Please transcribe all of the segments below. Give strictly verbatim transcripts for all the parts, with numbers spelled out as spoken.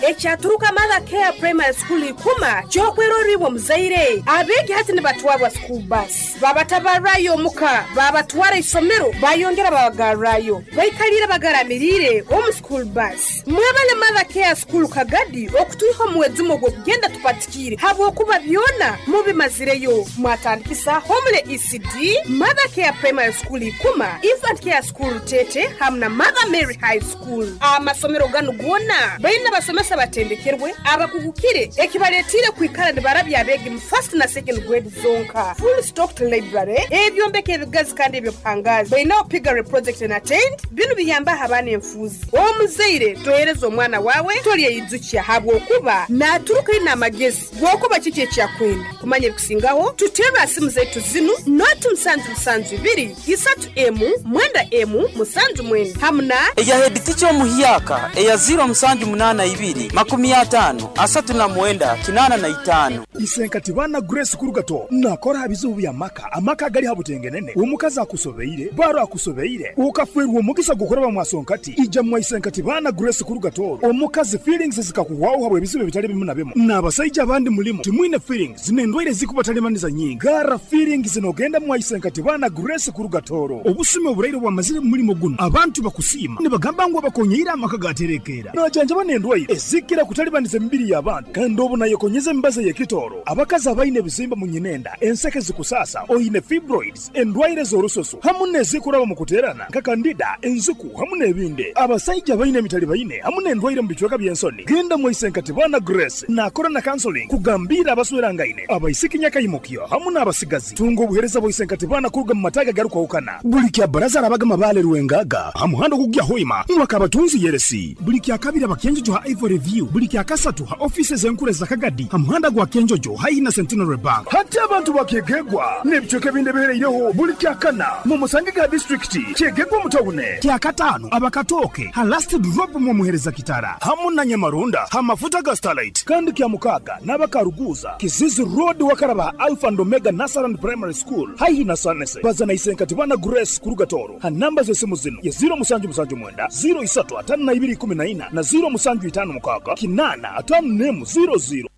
Ekyaturuka Mother Care Primary School ikuma kyokweroribwa muzaire. Abeegi hati nibatwarwa school bus. Babatabarrayo omuka, babatwara isomero, bayongera babagarrayo. Baikalire bagaramirire omu school bus. Mwebale Mother Care School Kagadi okutuiha omuwezumo gw'okugenda tupatikire habwokuba byona mubimazireyo. Mwatandikisa Homule E C D, Mother Care Primary School ikuma, Infant Care School Tete hamwe na Mother Mary High School. Amasomero ganu gona baina basomesa batendekerwe abakugukire ekibaletire kwikara nibarabya abeegi mu first na second grade zonka. Full stocked library, ebyombeko ebigazi kandi ebyobuhangazi. Bainaho piggery project na tent, binu biyamba abaana enfuuzi. Omuzaire tohereza omwana wawe tolyeyijukya habwokuba naturuka ina amagezi gwokuba kiki ekyakwenda. Kumanya ebikusingaho tuterwa simu zaitu zinu noti musanju musanju ibiri isatu emu mwenda emu musanju mwenda hamuna eya head teacher omuhyaka eya zero musanju munana ibiri makumi atano asatu na mwenda kinana na itano. Isenkati bana Grace Kurugato nakora bizibu bya maka amaka gali habutengenene omukazi akusobeire baro akusobeire ukafwerwa omugisa gukoraba mwasonkati ija mwa Isenkati bana Grace Kurugato omukazi feelings zikakuwaho habwe bizibu bitali bimu na bimu n'abasajja abandi mulimu timwine feelings zinendwaire zikubatalemaniza nyingi gara feelings zinogenda mwa Isenkati bana Grace Kurugatoro obusime oburaire bwamazire mulimo guno abantu bakusima nibagamba ngu abakonyeira amaka gaterekera najanja banendwaire ezikira kutalibaniza emibiri y'abantu kandi obu nayekonyeza embaza y'ekitoro abakazi abaine ebizimba mu nyinenda enseke zikusasa oyine fibroids endwaire z'orusoso hamu n'ezikuraba mu kuterana nka kandida enzuku hamu n'ebindi abasajja baine emitali baine hamu n'endwaire mu bicweka by'ensoni genda mu Isenkati bana Grace nakora na counseling kugambira abaswerangaine abaisiki nyakayimukyo hamu n'abasigazi tunga obuhereza bwa Isenkati bana kuruga mu mataga garukwahukana buli kya baraza arabaga mabale ruwengaga hamuhando kugya hoima mwakabatunzi yeresi buli kya kabiri abakenjojo ha Ivory View buli kya kasatu ha offices enkure za Kagadi hamuhanda gwa Kenjojo haina Centenary Bank hati abantu bakegegwa n'ebicweka ebindi bihereireho buli kya kana mu musange ga district kyegegwa mutawune kya katano abakatoke ha last drop mu muhereza kitara hamu na Nyamarunda ha mafuta ga Starlight kandi kya mukaga n'abakaruguza Kizizi Road wakaraba Alpha and Omega Nasaran Primary School haihi na Sanese bazana Isenkati bana Grace Kurugatoro ha namba z'esimu zino ya zero musanju musanju mwenda zero isatu atano na ibiri kumi na ina na zero musanju itano mukaga kinana atano nemu zero zero.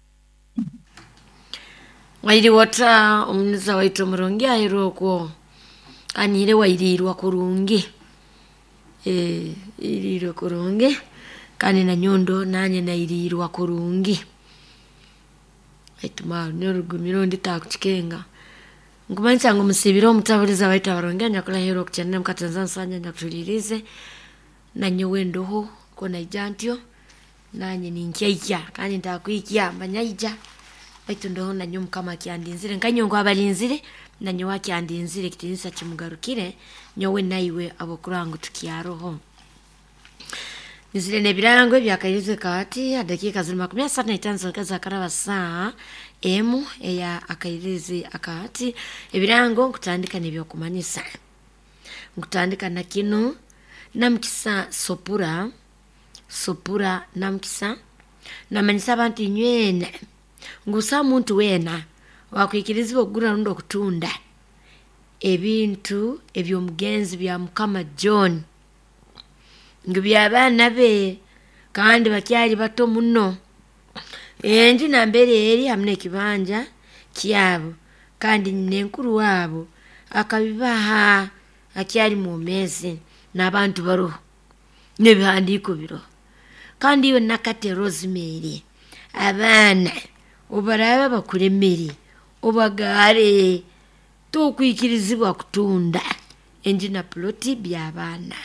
Wairi wata omuniza waitu omurungi ahirwe anire wairirwa kurungi eh irirwe kurungi kandi na nyondo nanye nairirwa kurungi aituma nyorugumiro nditakuchikenga nkumanisa ngo musibiro omutabuliza waitu abarungi anyakula hero kuchanena mkatanzania sanya nyakulirize na nyowe ndoho kona ijantyo nanye ninkyaiya kandi ndakwikya manyaija baitu ndoho nanyo mukama kyandinzire nkanyongo abalinzire nanyo wakyandinzire kitinisa kimugarukire nyowe naiwe abokurangu tukyaroho nizire nebirango ebyakairize kati dakika ziri makumi asatu na itano zikaza karaba saa emu eya akairize akati ebirango nkutandika nebyokumanyisa nkutandika na kino namukisa sopura sopura namukisa namanyisa abantu inywene ngusa muntu wena wakwikirizibwa okugura rundi okutunda ebintu ebyomugenzi bya Mukama John ngu by'abaana be kandi bakyali bato muno enju nambere eri hamwe n'ekibanja kyabo kandi nenkuru waabo akabibaha akyali mwomezi n'abantu baroho n'ebihandiiko biroho kandi iwe nakate Rosemary abaana obaraba bakuremere obagare tokwikirizibwa kutunda enju na ploti by'abaana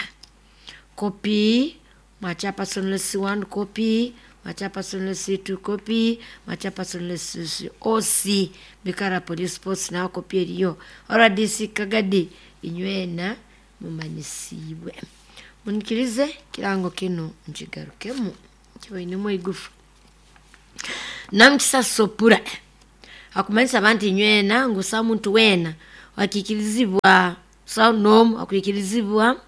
kopi mwachapa sonless one copy mwachapa sonless two copy mwachapa sonless O C Bikara Police Post na kopi eriyo R D C Kagadi inywena mumanyisibwe munikirize kirango kino nkigarukemu kibainemu igufu namukisa sopura akumanyisa abantu inywena ngusa muntu wena wakikirizibwa sa nomu akwikirizibwa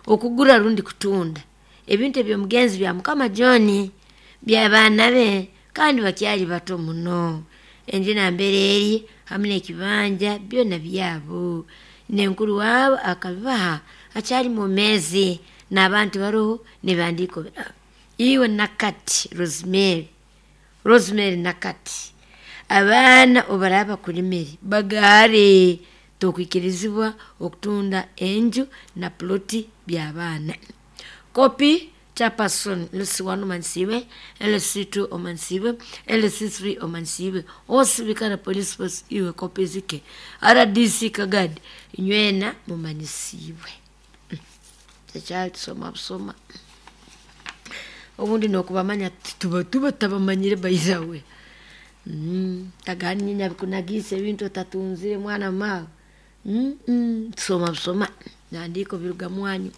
okugura rundi kutunda ebintu ebyomugenzi bya Mukama John by'abaana be kandi bakyali bato muno enju nambere eri hamwe n'ekibanja byona byabo nenkuru waabo akabibaha akyali mwomezi n'abantu baroho nebihandiiko birabo Iwe Nakati Rosemary, Rosemary Nakati, abaana obaraba kulimire bagaare, tokwikirizibwa okutunda enju na ploti by'abaana. Kopi chairperson L C one omansiwe, L C two omansiwe, L C three omansiwe, osibikana police force iwe kopi zike, R D C Kagadi inywena mumanisiwe. Tekyali tusoma busoma obundi nokubamanya tuba tuba tabamanyire bayizawe. Mm, tagani nyabikunagise ebintu otatunzire mwana mawe. Mm, mm, tusoma busoma nandiko biruga mwanyu.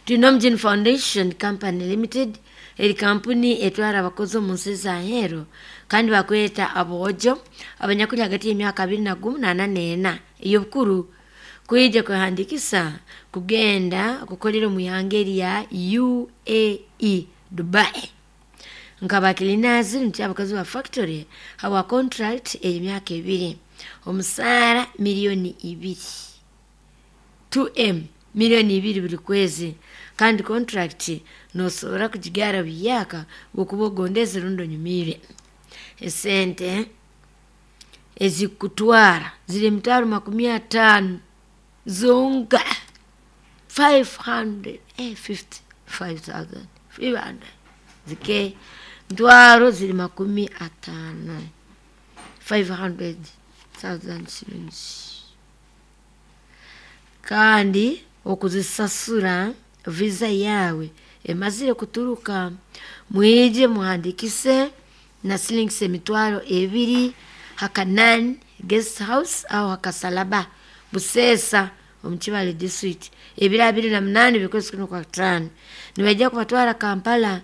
Tunomjin Foundation Company Limited eri kampuni etwara abakozi omu nsi za Ahero kandi bakweta abojo abanyakuli hagati y'emyaka abiri na gumu na ana n'ena ey'obukuru kwija kwehandikisa kugenda kukolera omu ihanga erya U A E Dubai nkabakilinazi nti abakozi ba factory hawa contract ey'emyaka ebiri omusaara miliyoni ibiri two M miliyoni ibiri buri kwezi kandi contract nosobora kugigara buyaka okuba ogondeze rundi onyumire. Esente ezikutwara ziri emitwaro makumi ataano zonka five hundred fifty five thousand five hundred zike mtwaro ziri makumi ataano five hundred thousand shillings kandi okuzisasura visa yawe emazire kuturuka mwije muhandikise na shillings emitwaro ebiri Hakanan guest house au Hakasalaba Busesa omu Kibale district ebiro abiri na munani bikozi kuno kwa tano nibaija kubatwara Kampala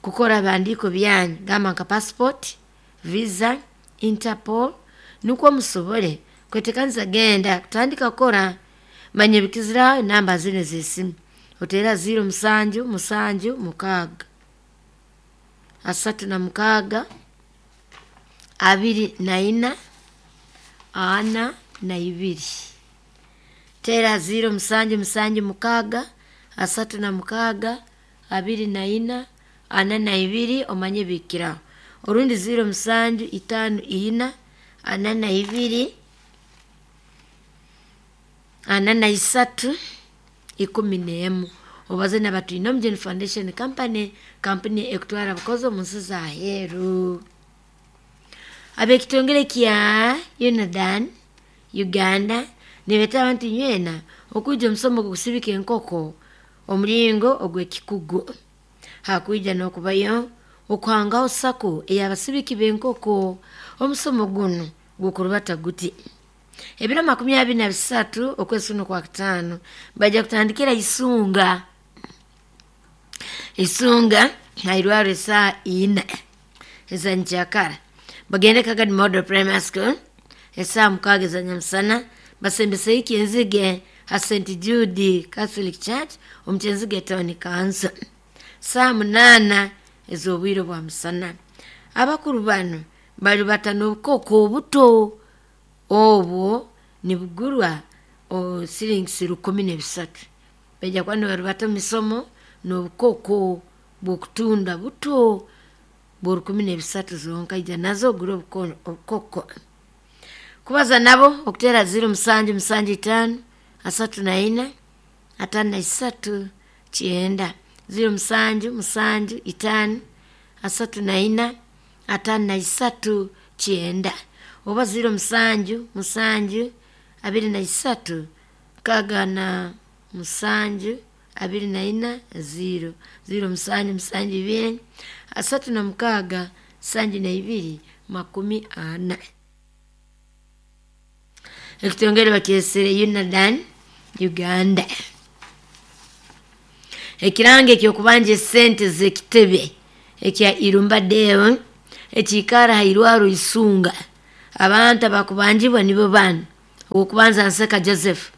kukora bandiko byanyu gamba nka passport, visa, Interpol nukwo musobole kwetekanisa genda kutandika kukora. Manye bikizira namba zine z'esimu otera ziro musanju musanju mukaaga asatu na mukaaga abiri na ina ana na ibiri tera ziro musanju musanju mukaaga asatu na mukaaga abiri na ina ana na ibiri omanye bikiraho orundi ziro musanju itano ina ana na ibiri ana na isatu ikumi n'emu obaze na Batwinomgen Foundation Company kampuni ekutwara abakozi omu nsi za aheeru. Ab'ekitongole kya Unadan Uganda nibeeta abantu nywena okwija omusomo gw'okusibika enkoko omuringo ogw'ekikugu hakwija n'okubayo okuhangaho sako ey'abasibiki b'enkoko. Omusomo guno gukurubata guti ebiro makumi abiri na bisatu okwezi kuno kwa kutaano bajja kutandikira Isunga. Isunga hairwaro esaa ina eza nkyakara bagende Kagadi Model Primary School esaa mukaaga eza nyamusana basembese Kyenzige ha Saint Jude Catholic Church omu Kyenzige Town Council saa munaana ez'obwire bwa musana. Abakuru bano bali batano obukoko obuto obwo nibugurwa silingi rukumi n'ebisatu bajja kuba nibarubata omu misomo n'obukoko bw'okutunda buto bwa rukumi n'ebisatu zonka ija nazo ogure obukoko. Kubaza nabo okutera ziro musanju musanju itaano asatu na ina ataano na isatu kyenda ziro musanju musanju itaano asatu na ina ataano na isatu kyenda oba ziro musanju musanju abiri na isatu nkaaga na musanju abiri na ina ziro ziro musanju musanju ibiri asatu na mukaaga sanju na ibiri makumi ana. Ekitongole bakyesere Unadan Uganda. Ekirango eky'okubanja esente z'ekitebe ekya Irumba Deo ekiikara hairwaro Isunga abantu abakubanjibwa nibo bano: owokubanza Nseka Joseph,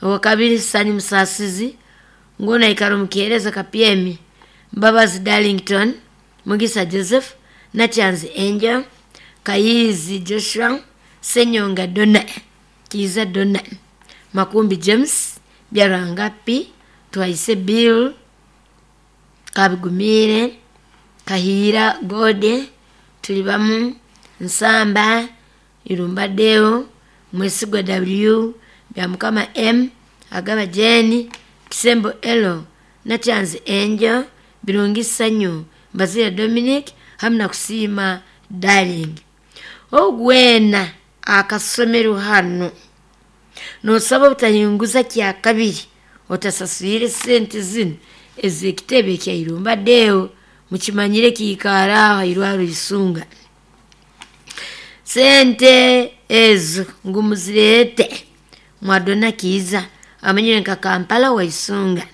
owakabiri Sanyu Musasizi nguna aikara omu Kihereza Kapyemi, Mbabazi Darlington, Mugisa Joseph, Nakyanzi Angel, Kayizi Joshua, Senyonga Dona, Kiiza Dona, Makumbi James, Byarwanga P, Twaise Bill Kabigumire Kahira Gode Tulibamu Nsamba Irumba Deo Mwesigwa W Byamukama M Agaba Jeni Kisembo Elo Nachanzi Angel Birungi Sanyu Mbazira Dominic hamna kusima Darling. Ogwena akasomero hano nosaba obutayunguza kya kabiri otasaswire sente zino ez'ekitebe kya Irumba Deo mukimanyire kiikara aho irwaro isunga sente ezo ngu muzirete mwadona kiiza amanyire nka Kampala waisunga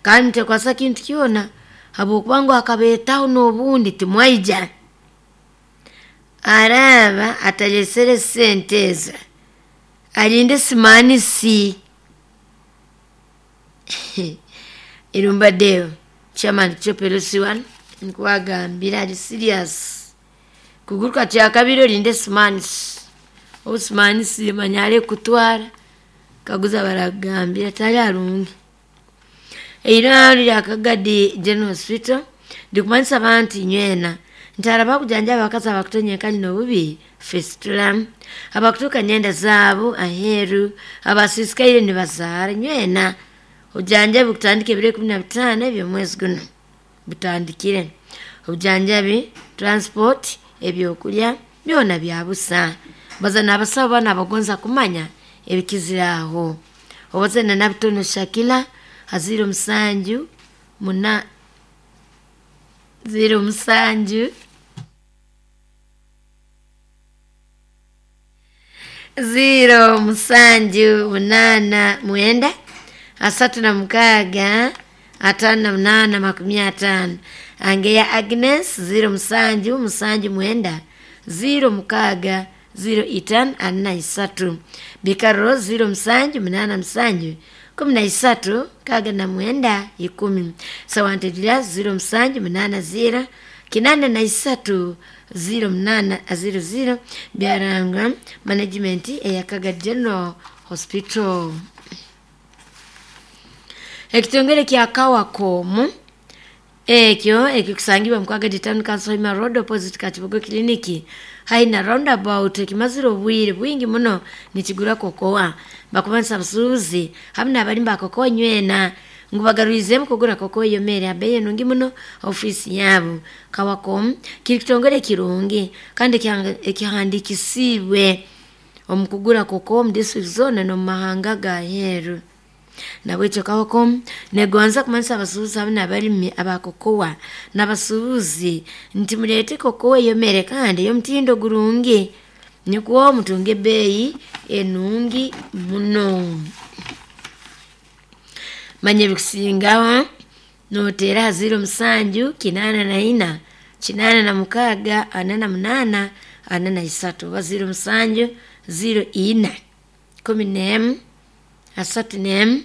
kandi mutekwasa kintu kyona habwokuba ngu akabeetaho n'obundi timwaija araba atalesere sente ezo alinde simanisi. Irumba Deo chairman Chopelosi one nkuwagambira ali serious kuguruka kya kabiri olinde simanisi obusimanisi manya kutwara kaguza baragambira tali arungi. Eirwaro lya Kagadi General Hospital ndikumanyisa abantu nywena ntara bakujanja abakazi abakutonya kali n'obubi fistula abakutuuka nyenda zaabo aheeru abasisikaire nibazaara nywena obujanjabi bukutandika ebiro ikumi na bitaano eby'omwezi guno butandikire. Obujanjabi transport ebyokulya byona bya busa baza n'abasawo bana abagonza kumanya ebikiziraho obazana nabitono Shakila haziro musanju muna ziro musanju ziro musanju munana mwenda asatu na mukaga atano na munana makumi atano. Angeya Agnes ziro musanju musanju mwenda ziro mukaga ziro itano ana isatu. Bikaro ziro musanju munana musanju kumi na isatu kaga na mwenda ikumi. Sawantedila ziro musanju munana ziro kinana na isatu ziro munana ziro ziro. Byaranga management eya Kaga General Hospital. Ekitongere kya Kawakomu ekyo ekikusangibwa mu Kagadi Town Council Hima Road opposite Kachibugo Clinic haina roundabout ekimazire obwire bwingi muno nikigura kokoa bakubanisa busuuzi hamwe n'abalimba kokoa nywena ngu bagaruizemu kugura kokoa yomere abeyi nungi muno ofisi yabo. Kawakomu kiri kitongere kirungi kandi ekihandikisiibwe omu kugura kokoa omu district zona n'omu mahanga ga heeru. Nabwekyo Kawakomu negonza kumanyisa abasuubuzi hamwe n'abalimi abakokoa n'abasuubuzi nti muleete kokoa eyomere kandi ey'omutindo gurungi nikwo mutunge ebbeeyi enungi muno. Manya ebikusingaho noteera aha ziro musanju kinaana na ina kinaana na mukaaga ana na munaana ana na isatu oba ziro musanju ziro ina kumi n'emu asatu n'emu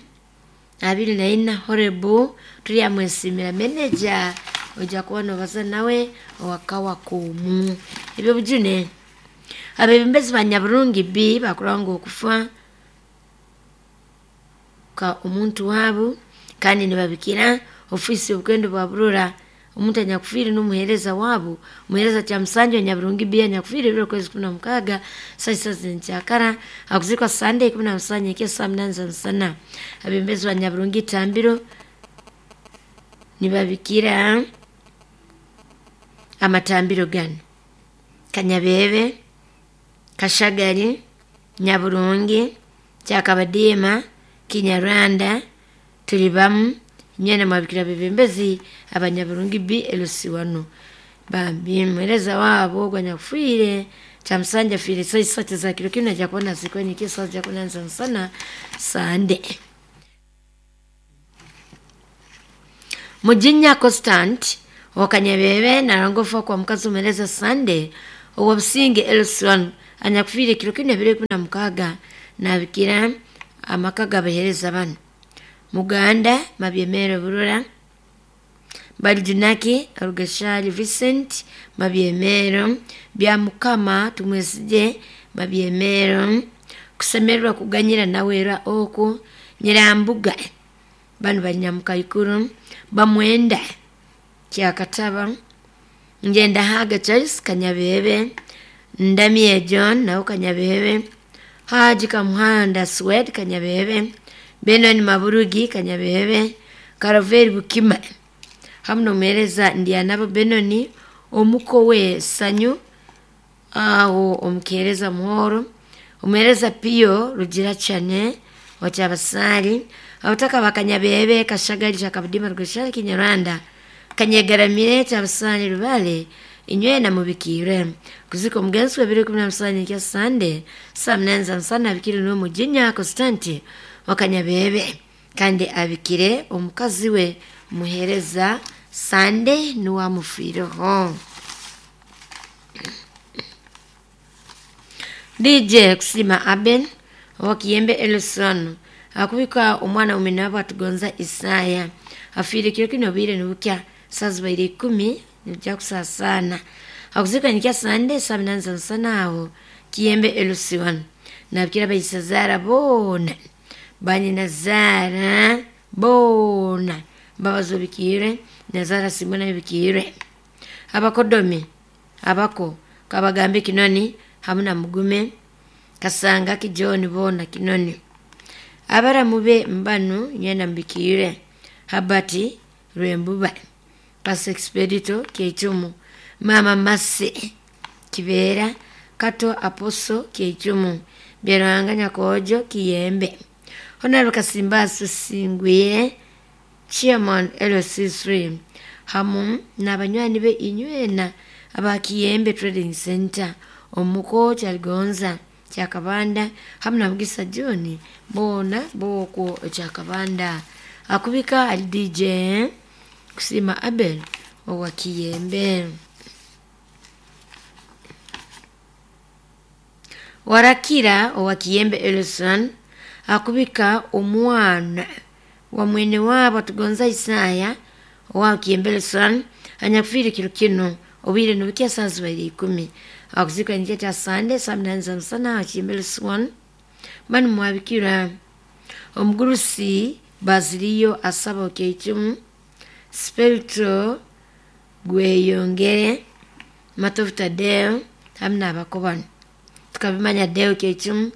abiri na ina. Horebu turyamwesimira meneja ojja kuba nobaza nawe owa Kawakomu. Ebyo bujune abebembezi ba Nyaburungi B bakuranga okufa ka omuntu waabo kandi nibabikira ofisi y'obukwendo bwa Burora omuntu anyakufiire n'omuheereza waabo omuheereza Kyamusanju Nyaburungi B anyakufiire ebiro kwezi kumi na mukaaga saa isa z'enkyakara akuzikwa Sunday kumi na musanju ekya saa munana za musana. Abebembezi ba Nyaburungi Itambiro nibabikira amatambiro gano Kanyabebe, Kashagari, Nyaburungi, Kyakabadiima, Kinyarwanda, Tulibamu nywena mwabikira bebembezi abanyaburungi B elusiwano bambi muhereza wabo gwanyakufiire Kyamusanja afiire saa isatu za kiro kinu ajja kubona zikwenyika saa ja kunanza musana Sande. Mujinya Constant wakanyabebe narangofa kwa mukazi omuhereza Sande owabusinge elusiwano anyakufiire kiro kinu ebiro ikumi na mukaaga nabikira amaka g'abahereza bano Muganda Mabyemero Burora Balijunaki Rugashali Vincent Mabyemero Byamukama Tumwesije Mabyemero kusemererwa kuganyira nawera oku Nyirambuga Banu bali Nyamukaikuru bamwenda Kyakataba Ngenda Haga Charles Kanyabebe Ndamie John nao Kanyabebe Haji Kamuhanda Swed Kanyabebe Benon Maburugi Kanyabebe Karaveri Bukima hamu nomuheereza Ndyanabo Benoni omuko we Sanyu aho omukeereza Muhoro omuheereza Pio Rugira Chane wakyabasali abataka bakanyabebe Kashagali kyakabudima Rugashali Kinyarwanda Kanyegaramire kyabasali Rubale inywena mubikire kuzika omugenzi w'ebiro ikumi na musanju kya Sande saa munani za musana abikire n'omujinya Constante wakanyabebe kandi abikire omukazi we muhereza Sande niwamufiireho. D J Kusima Aben wakiyembe Elson akubika omwana umenabo atugonza Isaya afiire kiro kino bwire nibukya saa zibaire ikumi nibujya kusasana akuzika nikya Sande saa munani za musana aho Kiyembe Elson nabikira baisazara boona banyinazara boona mbabazi bikire nazara Simona bikire abakodomi abako kabagambe Kinoni hamu na Mugume Kasanga Kijoni bona Kinoni abaramu be mbanu nyena mbikire Habati Rwembuba Pastor Expedito Keichumu Mama Mase Kibera Kato Aposo Keichumu Byarwanga Nyakojo Kiyembe Honorable Kasimbasu Singwire Chairman L C three hamu n'abanywani be inywena aba Kiyembe Trading Center omuko Kyaligonza Kyakabanda hamu na Mugisa John bona boko Kyakabanda akubika ali D J Kusima Abel owa Kiyembe. Warakira owa Kiyembe Elson akubika omwana wa mwene wabo tugonza Isaya owa Kiyembe Elson anyakufiire kiro kino obwire nibukya saa zibaire ikumi akuzika nikya kya Sande saa munani za musana Kiyembe Elson banu mwabikira omugurusi Baziliyo asaba Okeichumu Spirito Gweyongere Matovu Tadeo hamu n'abakobano tukabimanya Deo Keichumu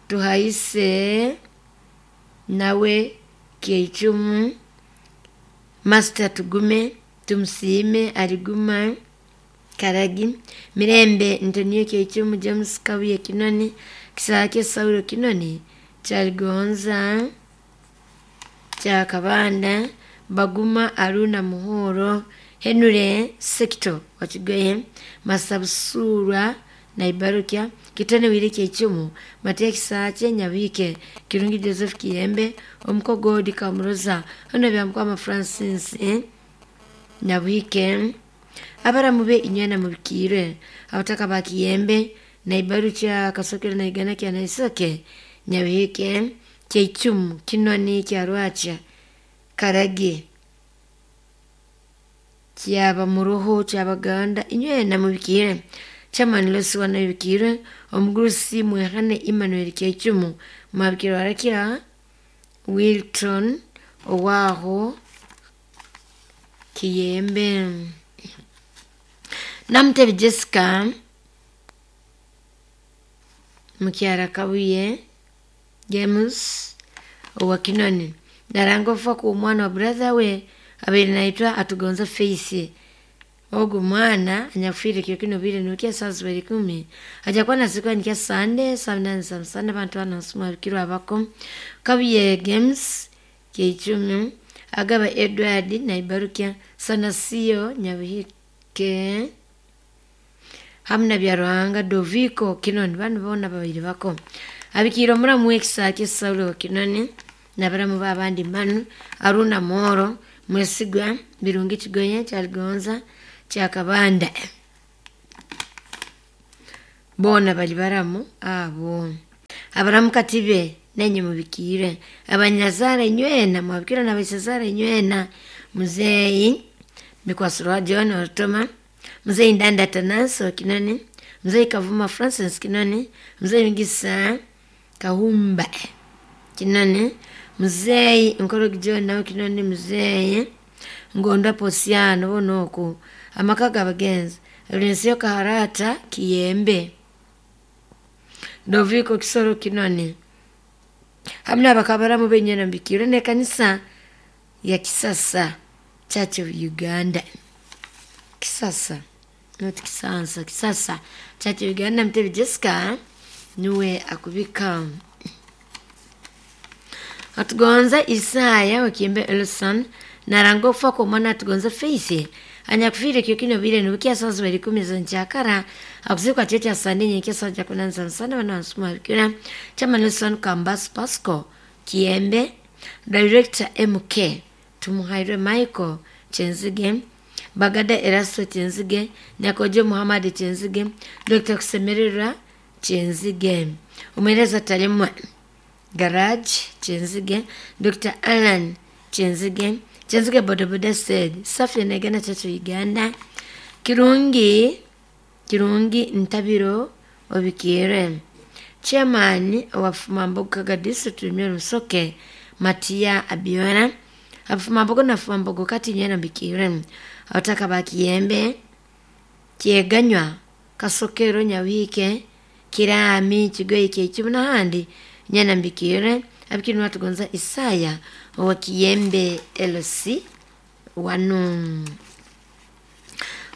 Tuhaise nawe Keichumu Master Tugume Tumusiime Aliguma Karagi Mirembe Ntonio Keichumu James Kabuye Kinoni Kisake Saulo Kinoni Kyaligonza Kyakabanda Baguma Aruna Muhoro Henure Sekito Wakigoye Masabusurwa Naibarukya Kitone Wile Keichumu Matia Kisake Nyabike Kirungi Joseph Kiyembe Omukogodi Kamuroza Hono Byamukama Francis eh? Nyabike abaramu be inywena mubikire abataka ba Kiyembe Naibarukya Kasokero Naigana kya Naisoke Nyabike Keichumu Kinoni Kyarwacha Karagi Kyaba Muruho Kyabaganda inywena mubikire Chairman Losi wanabikire omugurusi Mwehane Emmanuel Keichumu mwabikire warakira Wilton owaho Kiyembe Namutebi Jessica Mukyara Kabuye James owa Kinoni naranga ofa ku omwana wa brother we abaire naitwa Atugonza Faith ogu mwana anyakufiire kiro kino bwire nibukya saa zibaire ikumi aja kuba nazikwa nikya Sande saa munani za musana abantu bano nsuma bikirwa abako Kabuye Games Keichumu Agaba Edward Naibarukya Sanasio Nyabuhike hamu na Byaruhanga Doviko Kinoni banu boona babaire bako abikiire omuramu w'ekisake Saulo Kinoni nabaramu b'abandi mbanu Aruna Moro Mwesigwa Birungi Kigoye Kyaligonza Kyakabanda boona bali baramu abo abaramu katibe nenye mubikire abanyazara inywena mwabikira n'abaisazara inywena muzeeyi Mikwasirwa John Orutoma muzeeyi Ndanda Tananso Kinoni muzeeyi Kavuma Francis Kinoni muzeeyi Mugisa Kahumba Kinoni Mzee Nkoro John nawe Kinoni mzee Ngonda Posiano bonoku amaka g'abagenzi Lensio Kaharata Kiyembe Doviko Kisoro Kinoni hamna abakabaramu benyena mbikiro ne kanisa ya Kisasa Church of Uganda. Kisasa not Kisansa, Kisasa Church of Uganda. Mtebi Jessica niwe akubika. Atugonza Isaya wakimbe Elson narango kufa kwa mwana atugonza Faith anyakufire kyo kino bile nukia sazo bali kumi za nchakara akuzikwa checha sande nyekesa saja kunanza sana wana wasuma bikira chama Nelson Kambas Pasco Kiembe Director M K Tumuhaire Michael Chenzige Bagada Erasto Chenzige Nyakojo Muhammad Chenzige Doctor Kusemerera Chenzige Umereza Talemwa Garage Chenzige Doctor Alan Chenzige Chenzige Bodaboda said Safi Negana Church of Uganda Kirungi Kirungi Ntabiro Obikire Chairman wa Fumambogo District Rusoke Matia Abiona Afumambogo na Fumambogo kati nyena bikire Abataka ba Kiyembe Kyeganywa Kasokero Nyawike Kirami Kigoyi Kikibu n'ahandi nyana mbikire abikiri watugonza Isaya wa Kiyembe L C wanu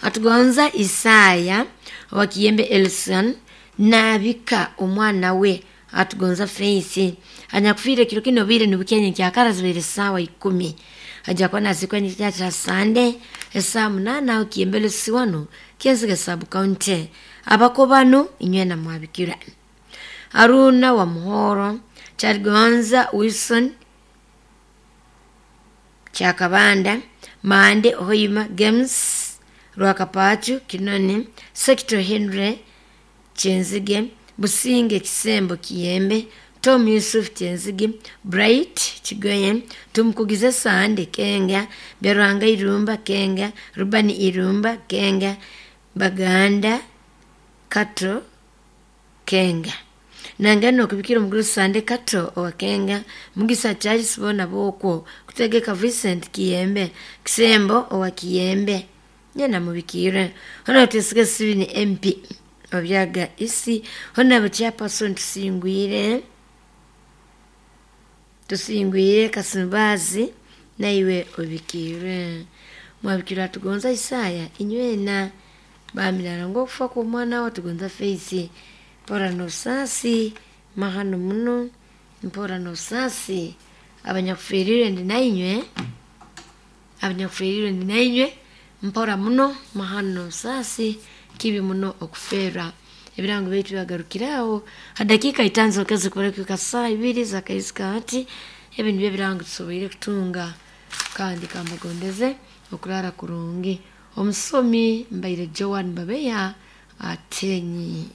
atugonza Isaya wa Kiyembe Elson nabika omwana we atugonza Faith anyakufire kiro kino bire nibukyenye kyakara zibere sawa ikumi aja kwa nazikwa nyikya Sunday esaa munana au Kiyembe L C wanu Kyenzige sub county abakobano inywe na mwabikira Aruna wa Muhoro Charigonza Wilson Chakabanda Mande Hoima Games Rwakapachu Kinoni Sector Henry Chenzige Businge Kisembo Kiyembe Tom Yusuf Chenzige Bright Chigoye Tumkugize Sande Kenga Berwanga Irumba Kenga Rubani Irumba Kenga Baganda Kato Kenga Nangano kubikira omuguru Sande Kato owa Kenga Mugisa Charles bona bokwo kutegeka Vincent Kiyembe Kisembo owa Kiyembe nyana mubikire hona tesige sibini M P obyaga isi hona chairperson tusingwire tusingwire Kasimbazi naiwe obikire mwabikira tugonza Isaya inywena bamilala ngokufa kwa mwana wa tugonza Faith mpora nosasi mahano muno mpora nosasi abanyakufirire ndi nainywe abanyakufirire ndi nainywe mpora muno mahano nosasi kibi muno okufera ebirango baitu byagarukiraho hadakika itanzo kazi kubareka saa ibiri za kaizika hati ebi nibyo ebirango tusoboire kutunga kandi kambagondeze okurara kurungi omusomi mbaire Joan Babeya atenyi.